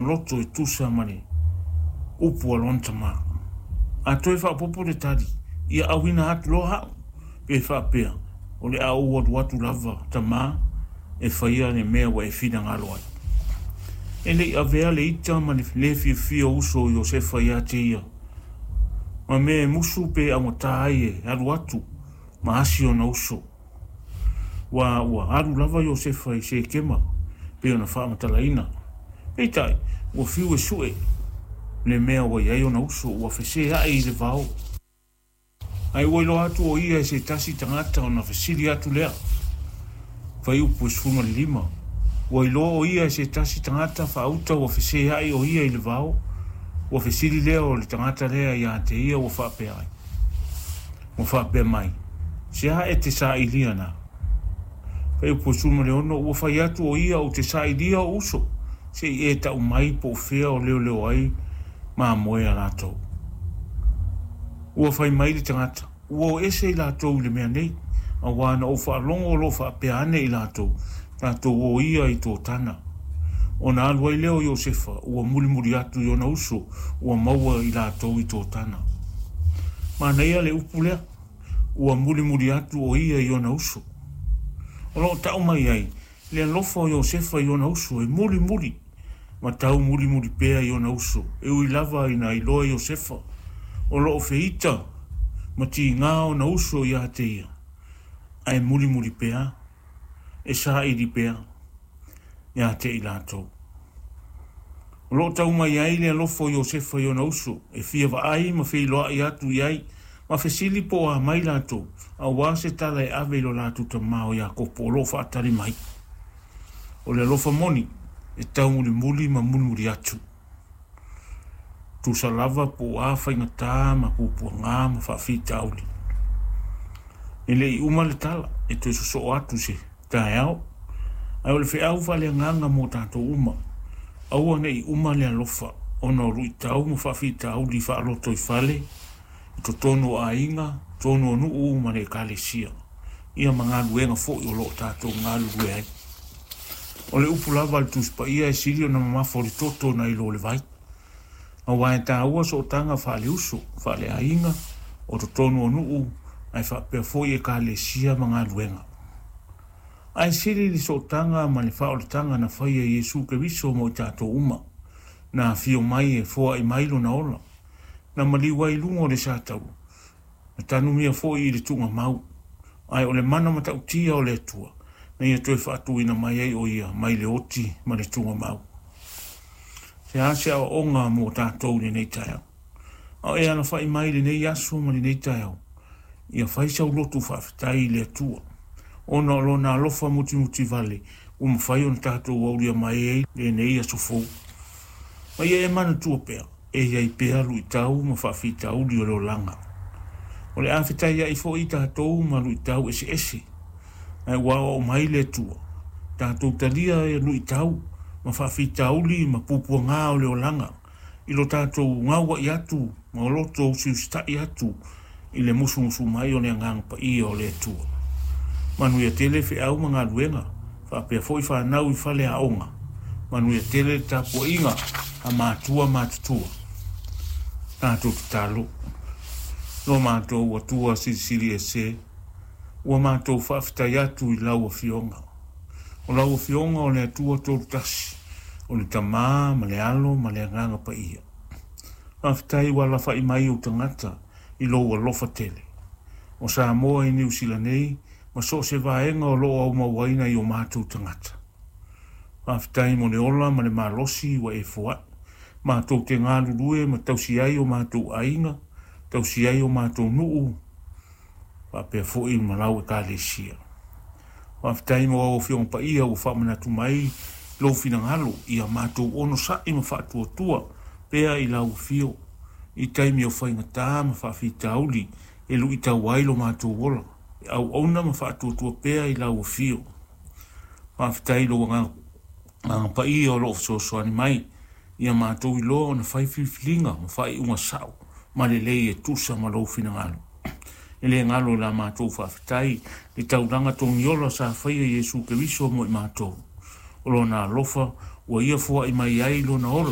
loto e tusa ma le upu a lona tamā. A toe faaopoopo le tali, Ia auina atu loa au, pe faapea, o le a ou alu atu lava, tamā, e faia le mea ua e finagalo ai. E le i avea le ita ma le lē fiafia o uso o Iosefa ia te ia, ma mea e musu pe augatā ai e alu atu ma asi ona uso. Ua ua alu lava Iosefa i Sekema pei ona faamatalaina. Peitai, ua fiu e suʻe le mea ua i ai ona uso, ua feseaʻi i le vao. Ae ua iloa atu o ia e se tasi tagata ona fesili atu lea. Fuaiupu e 15, Ua iloa o ia e se tasi tagata faauta ua feseaʻi o ia i le vao, ua fesili lea o le tagata lea ia te ia ua faapea ai. Ua faapea mai, Se a e te sailia na? Fuaiupu e 16, Ua fai atu o ia ou te sailia o uso, se i e tau mai po o fea o leoleo ai mamoe a latou. Ua fai mai le tagata, Ua o ese i latou i le mea nei, auā na ou faalogo o lo o faapea ane i latou, Tatou o ia i Totana. Ona alu ai lea o Iosefa, ua mulimuli atu i ona uso, ua maua i latou i Totana. Manaia le upu lea, ua mulimuli atu o ia i ona uso. O lo o tau mai ai le alofa o Iosefa i ona uso e mulimuli ma tau mulimuli pea i ona uso, e ui lava ina iloa Iosefa o lo o feita ma tigā ona uso ia te ia, ae mulimuli pea, e saili pea ia te i latou. O lo o tau mai ai le alofa o Iosefa i ona uso, e fia vaai ma feiloai atu i ai, ma fesili po o a mai latou, auā se tala e ave i lo latou tamā o Iakopo o lo o faatali mai. O le alofa moni e taumulimuli ma mulimuli atu. Tusa lava po o a faigatā ma puapuagā ma faafitauli. E le i uma le tala e toe sosoo atu se taeao, ae o le feau faaleagaga mo tatou uma, aua ne i uma le alofa ona o luitau ma faafitauli faalotoifale i totonu o aiga, totonu o nuu ma le Ekalesia, ia ma galuega foi o lo o tatou galulue ai. O le upu lava a le Tusi Paia e sili ona mamafa o le toto nai lo le vai. Aua e taua sootaga faaleuso, faaleaiga, o totonu o nuu, ae faapea foi Ekalesia ma galuega. Ae sili le sootaga ma le faaolataga na faia e Iesu Keriso mo i tatou uma, na afio mai e foai mai lona ola, na maliu ai i luga o le sataua, na tanumia foi i le tuugamau, ae o le mana matautia o le Atua, na ia toe faatuina mai ai o ia mai le oti ma le tuugamau. Se a se aoaoga mo tatou i lenei taeao? A o e alafai mai i lenei aso ma lenei taeao, ia fai sau lotu faafetai i le Atua, ona o Lona alofa mutimutivale ua mafai ona tatou aulia mai ai lenei aso fou. Ma ia e manatua pea, e i ai pea luitau ma faafitauli o le olaga. O le a fetaiai foi tatou ma luitau eseese, ae ua aoao mai le Atua, tatou talia luitau ma faafitauli ma puapuagā o le olaga i lo tatou gaua'i atu ma loto usiusitai atu i le musumusu mai o le Agaga Paia o le Atua. Manuia tele feau ma galuega, faapea foi fanau i fale aoga. Manuia tele le tapuaiga a matua matutua. Tatou tatalo. Lo matou Atua Silisili Ese, ua matou faafetai atu i lau Afioga. O lau Afioga o le Atua Tolutasi, o le Tama ma le Alo ma le Agaga Paia. Faafetai ua alafai mai ou tagata i lou alofa tele. O Samoa i Niu Sila nei ma so o se vaega o lo o aumauaina i o matou tagata. Faafetai mo le ola ma le malosi ua e foai. Matou te galulue ma tausi ai o matou aiga, tausi ai o matou nuu, faapea foi ma lau Ekalesia. Faafetai mo au Afioga Paia ua faamanatu mai lou finagalo ia matou onosai ma faatuatua pea i lau afio i taimi o faigata ma faafitauli e luitau ai lo matou ola, e auauna ma faatuatua pea i lau afio. Faafetai i lou Agaga Paia o lo o fesoasoani mai ia matou iloa ona fai filifiliga ma faaiuga sao ma lelei e tusa ma lou finagalo. E le galo i la matou faafetai le taulaga togiola sa faia e Iesu Keriso mo i matou. O lona alofa ua ia foai mai ai lona ola.